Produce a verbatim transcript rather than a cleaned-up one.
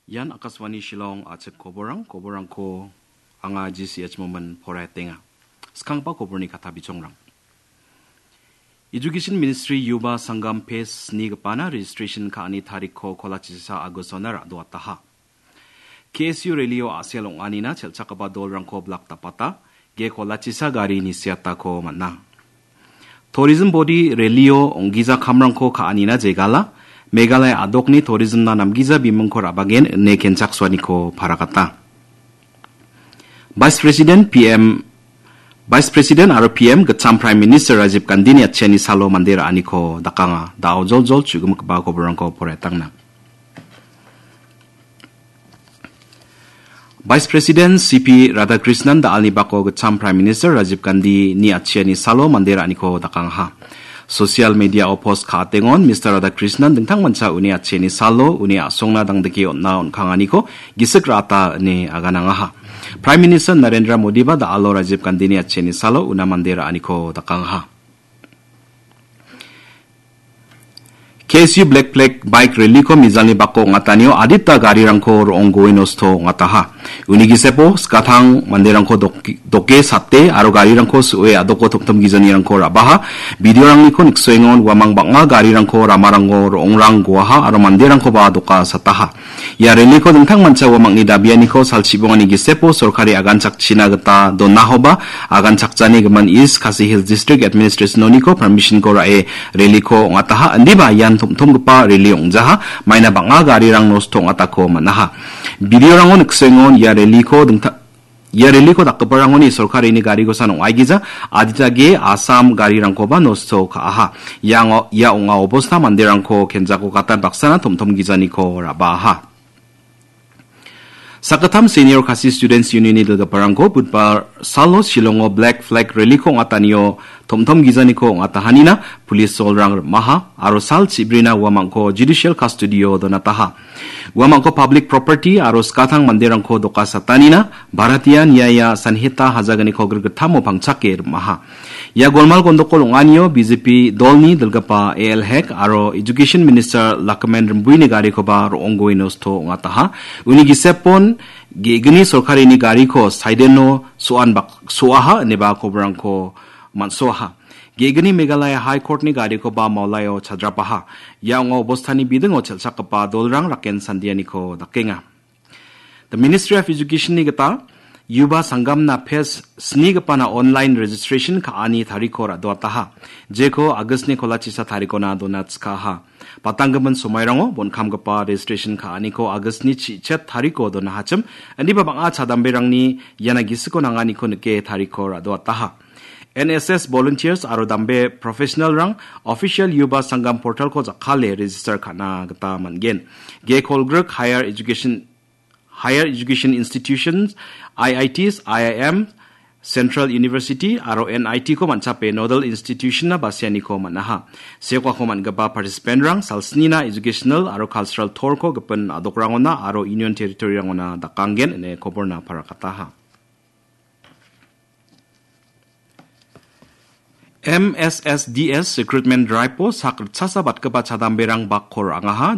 Ian Akashvani Shillong, a·chik koborang, koborangko anga G C H Momin poraiatenga. Skanggipa koborni kata bichangrang. Education Ministry Yuba Sangam phase snigipana registration ka·ani tarikko kolachisa Agostona ra·doataha. K S U rally-o a·sel ong·anina chelchakgipa dolrangko blak dapata, ge kolachisa gari nisiatako man·a. Tourism body rally-o ong·gija kamrangko ka·anina jegala, Meghalaya a·dokni tourism-na namgija bimingko ra·bagen ine kenchaksoaniko paragata. Vice President, P M, Vice President aro P M gitcham Prime Minister Rajiv Gandhini atchiani salo mande ra·aniko dakanga. Da·o joljol chu·gimikgipa koborangko poraiatangna. Vice President C P Radhakrishnan da·alni bako gitcham Prime Minister Rajiv Gandhini atchiani salo mande ra·aniko dakangaha. Social media-o post ka·atengon Mister Radhakrishnan dingtangmancha uni atchiani salo uni a·songna dangdike on·na on·kanganiko gisik ra·ata ine aganangaha. Prime Minister Narendra Modiba da·alo Rajiv Gandhini atchiani salo una mande ra·aniko dakangaha. K S U Black Flag Bike Rally-ko mijalni bako ong·atanio adita garirangko ro·onggoe nosto ong·ataha. Uni gisepo skatang manderangko dok-, doke sate aro garirangko su·e a·doko tomtom gijanirangko ra·baha. Video-rangniko niksoengon uamang bang·a garirangko ramarango ro·ongrang goaha aro manderangkoba doka sataha. Ia rally-ko dingtangmancha uamangni dabianiko salchibongani gisepo sorkari aganchakchina gita donahoba aganchakjani gimin East Khasi Hills District Administration-oniko permission-ko ra·e rally-ko ong·ataha, indiba ian tom·tomgipa rally ong·jaha, maina bang·a garirang nosto ong·atako man·aha. Video-rango niksoengon ia rally-ko dingtang-, ia rally-ko dakgiparangoni sorkarini garikosan ong·aigija, adita ge Assam garirangkoba nosto ka·aha. Iango, ia ong·a obosta manderangko kenjako gatan baksana tom·tom gijaniko ra·baaha. Sakgittam Senior Khasi Students Union-ni dilgiparangko Budbar salo Shillongo Black Flag Rally-ko ong·atanio tom·tom gijaniko ong·atahanina police solrang rim·aha aro sal chibrina uamangko judicial custody-o donataha. Uamangko public property aro skatang manderangko doka satanina Bharatiya Nyaya Sanhita hajaganiko grikgittamo pangchake rim·aha. Ia golmal gondokol ong·anio B J P dolni dilgipa A L Hek aro Education Minister Lakmen Rimbuini garikoba ro·onggoe nosto ong·ataha. Uni gisepon ge·gni sorkarini gariko saideno so·an bak-, so·aha ineba koborangko man·soaha. Ge·gni Meghalaya High Court-ni garikoba maulaio chadrapaha. Ia ong·a obostani bidingo chelchakgipa dolrang raken sandianiko dakenga. The Ministry of Education-ni gita Yuba Sangamna phase snigipana online registration ka·ani tarikko ra·doataha. Jeko August-ni kolachisa tarikona dona chikaha. Patanggimin somairango bonkamgipa registration ka·aniko August-ni chi-, chichet tarikko donahachim, indiba bang·a chadamberangni iana gisiko nanganiko nike tarikko ra·doataha. N S S volunteers aro dambe professional-rang official Yuba Sangam portal-ko jakkale register ka·na gita man·gen. Ge kolgrik higher education Higher Education Institutions, I I Ts, I I M, Central University aro N I T-ko man·chape nodal institution-na basianiko man·aha. Seokako man·gipa participant-rang salsnina educational aro cultural tour-ko gipin a·dokrangona aro Union Territory-rangona dakanggen ine koborna parakataha. M S S D S recruitment drive-o sak ritchasa batgipa chadamberang bakko ra·angaha.